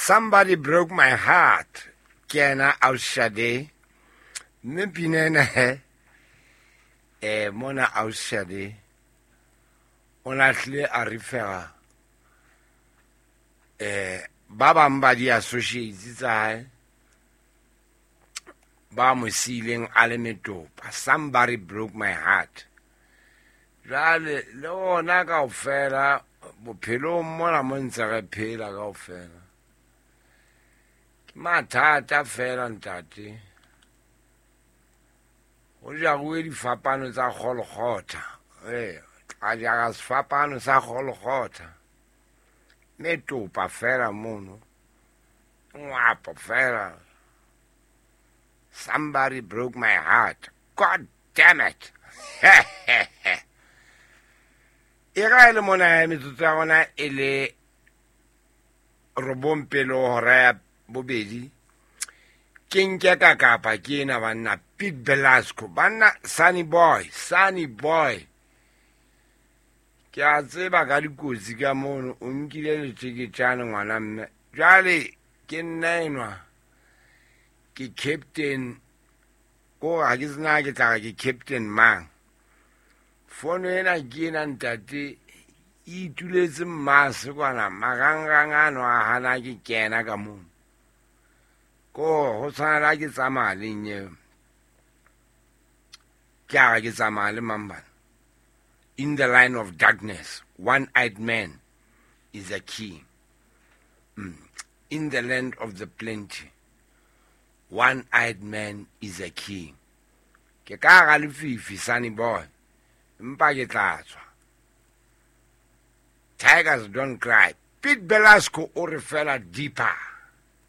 Somebody broke my heart. Ke yena Aushade. Mme pina ena he mona Aushade o lahlile a refera ba bang ba di-associates tsa hae ba mo siileng a le metopa. Somebody broke my heart. Jwale le rona kaofela bophelong mona mo ntse re phela kaofela ke mathata fela ntate. Ho jaruwe difapano tsa Golgotha. Tla jara sefapano sa Golgotha. Metopa fela mono. Ngwapo fela. Somebody broke my heart. God damn it. E ga e le mona ya metsotso ya rona e le 9 pele hora ya 2. Ke nke ka kapa ke ena banna Pete Belasco, banna Sunny Boy, Sunny Boy. Ke a tseba ka dikotsi ka mono, o nkile leteketjane ngwana mme. Jwale ke nna enwa, ke captain, ko ha ke tsena ke tla re ke captain mang. Fono ena ke ena ntate, e ituletse mmase kwana, marangrang ano a hana ke kena ka mono. Ko ho tshwana le ha ke tsamaya le nyewe. Ke a re ke tsamaya le mang bana? In the line of darkness, one-eyed man is a king. In the land of the plenty, one-eyed man is a king. Ke ka hara lefifi, Sunny Boy. Empa ke tla tswa. Tigers don't cry. Pete Belasco o re fela deeper.